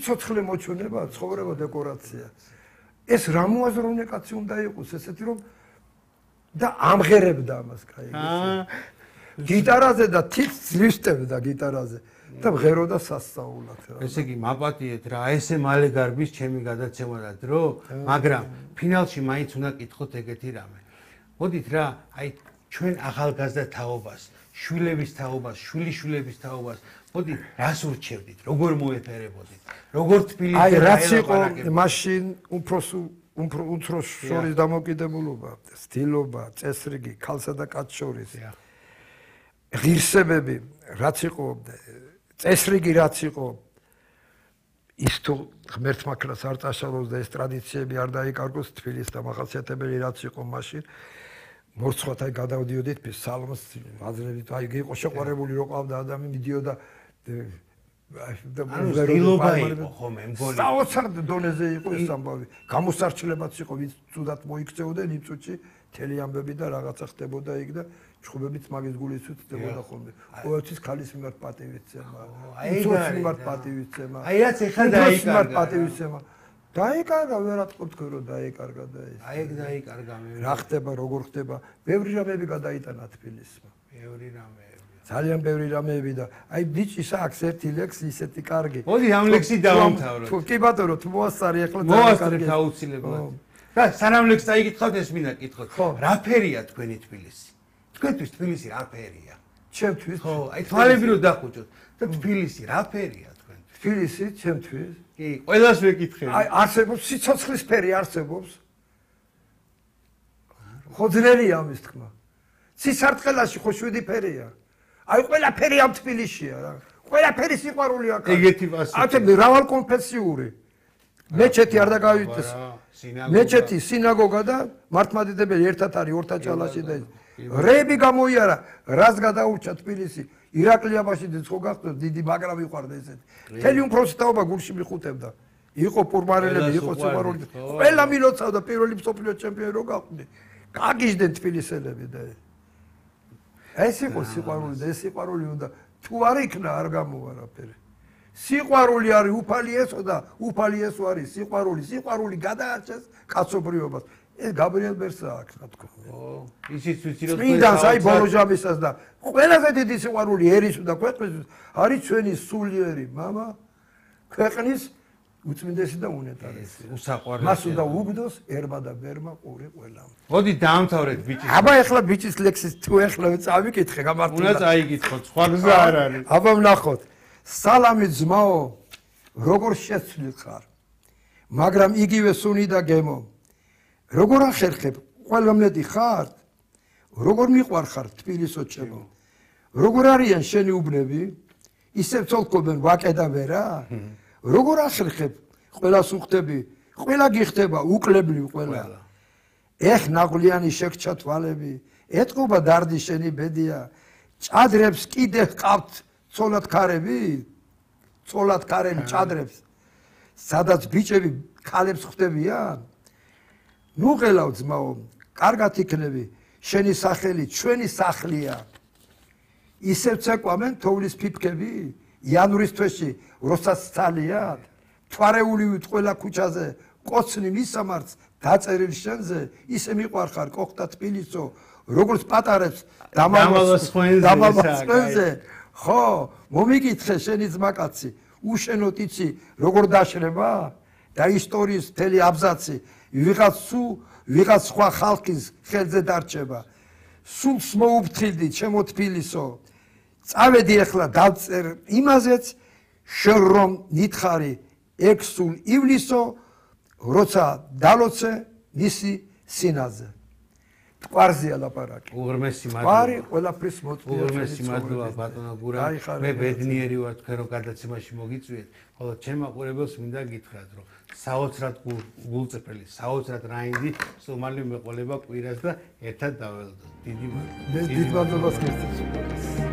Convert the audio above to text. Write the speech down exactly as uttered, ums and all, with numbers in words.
ცოცხლე მოჩვენება, ცხოვრება დეკორაცია. ეს რა მოაზროვნე კაცი უნდა იყოს, ესეთი რომ და ამღერებდა ამას კაი. გიტარაზე და თით ძლივსტებდა გიტარაზე და მღეროდა სასწაულად რა. ესე იგი მაპატიეთ რა, ესე მალე გარბის ჩემი გადაცემა და დრო, მაგრამ ფინალში მაინც უნდა კითხოთ ეგეთი რამე. მოდით რა, აი ჩვენ ახალგაზრდა თაობას, შვილების თაობას, შვილიშვილების თაობას, მოდი რას ურჩევდით, როგორ მოეფერებოდით, როგორ თბილისში აი რაც იყო მაშინ უფროს უფროს შორის დამოკიდებულობა, სტილობა, წესრიგი, ქალსა და კაცს შორის. ღირსებები, რაც იყო, წესრიგი რაც იყო, ის თუ ღმერთმა ქრას არ წაშალოს და ეს ტრადიციები არ დაიკარგოს თბილისს და მახასიათებელი რაც იყო მაშინ მორცხვათ აი გადავდიოდით სალმოს აზრებით აი იყო შეყვარებული რო ყავდა ადამიანი მიდიოდა და მგონი იყო ხომ მგონი საოცარ დონეზე იყო ეს ამბავი გამოსარჩლებაც იყო ვინც თუდად მოიქცეოდნენ იმ წუთში მთელი ამბები და რაღაცა ხდებოდა იქ და ჩხუბებით მაგის გულისით ხდებოდა ხოლმე ყოველთვის ქალის მიმართ პატივისცემა აი მიმართ პატივისცემა აი რაც ეხლა დაიკარგა პატივისცემა დაიკარგა ვერატყობთ რომ დაიკარგა და ეს აი ეგ დაიკარგა მე რა ხდება როგორ ხდება ბევრი რამეები გადაიტანა თბილისმა ბევრი რამეები ძალიან ბევრი რამეები და აი ბიჭის აქვს ერთი ლექსი ისეთი კარგი მოდი ამ ლექსი დავამთავროთ თუ კი ბატონო თუ მოასწარი ახლა მოასწრებ აუცილებლად და სანამ ლექსს დაიკითხავთ ეს მინდა კითხოთ რა ფერია თქვენი თბილისი თქვენთვის თბილისი რა ფერია ჩემთვის ხო აი თვალები რო დახუჭოთ და თბილისი რა ფერია თქვენთვის თბილისი ჩემთვის კი ყველას ვეკითხები აი არსებობს სიცოცხლის ფერი არსებობს ხო ძნელია ამის თქმა სისარტყელაში ხო შვიდი ფერია აი ყველაფერი ამ თბილისშია რა ყველაფერი სიყვარული აქ ეგეთი ვასი ათე მრავალკონფესიური მეჩეთი არ დაგავიდეს მეჩეთი სინაგოგა და მართლმადიდებელი ერთად არის ორთაჭალაში და რები გამოიარა რას გადაურჩა თბილისი ირაკლიანში ხო გახდა დიდი მაგრამ იყვარდა ესეთი მთელი უმფროსი თაობა გულში მიხუტებდა იყო პურმარელები იყო სიყვარული ყველა მილოცავდა პირველი მსოფლიო ჩემპიონი რო გაყვნენ გაგიჟდნენ თბილისელები და ეს იყო სიყვარული და ეს სიყვარული უნდა თუ არ იქნა არ გამოვა რაფერი სიყვარული არის უფალი ესო და უფალი ესო არის სიყვარული სიყვარული გადაარჩეს კაცობრიობას ეს გაბრიელ ბერსა აქვს რა თქმა უნდა ო ისიც ვიცი რომ წმინდანს აი ბოლოჟამისას და ყველაზე დიდი სიყვარული ერის და ქვეყნის არის ჩვენი სულიერი мама ქვეყნის უწმინდესი და უნეტარესი უსაყვარლესი მას უნდა უგდოს ერმა და ბერმა ყური ყველამ მოდი დაამთავრეთ ბიჭის აბა ეხლა ბიჭის ლექსის თუ ეხლა წავიკითხე გამართლა უნდა წაიკითხოთ სხვა გზა არ არის აბა ვნახოთ სალამი ძმაო როგორ შეცვლილ ხარ მაგრამ იგივე სუნი და გემო როგორ ახერხებ ყველამნეთი ხარ როგორ მიყვარ ხარ თბილისო ჩემო როგორ არიან შენი უბნები ისევ ცოლკობენ ვაკე და ვერა როგორ ახერხებ ყველას უხდები ყველა გიხდება უკლებლივ ყველა ეხ ნაღვლიანი შეგჩა თვალები ეთყობა დარდი შენი ბედია ჭადრებს კიდე ჰყავთ ცოლად ქარები ცოლად ქარები ჭადრებს სადაც ბიჭები ქალებს ხვდებიან ნუ ღელავ ძმაო კარგად იქნები შენი სახელი ჩვენი სახლია ისევ ცეკვამენ თოვლის ფიფკები იანვრის თვეში როსაც ცალიათ თვარეული ვით ყველა ქუჩაზე კოცნი მისამართს დაწერილ შენზე ისე მიყვარხარ კოხთა თბილისო როგორც პატარებს დამალოს ხვენზე ხო მომიკითხე შენი ძმაკაცი უშენოთ იცი როგორ დაშრება და ისტორიის მთელი აბზაცი ვიღაც სულ ვიღაც სხვა ხალხის ხელზე დარჩება სულს მოუფრთხილდი ჩემო თბილისო წავედი ახლა დავწერ იმაზეც შენ რომ ნითხარი ეგ სულ ივლისო როცა დალოცე მისი სინაზე თყარზეა ლაპარაკი უღრმესი მადლობა ვარი ყველაფრის მოწვია უღრმესი მადლობა ბატონო გურა მე ბედნიერი ვარ თქვენ რომ გადაცემაში მოგიწვიეთ ხოლო ჩემ მაყურებელს მინდა გითხრათ რომ საოცრად გულწრფელი საოცრად რაინდი სულ მეყოლება კვირას და ერთად დაველოდოთ დიდი მადლობა მე დიდ მადლობას გესწრებით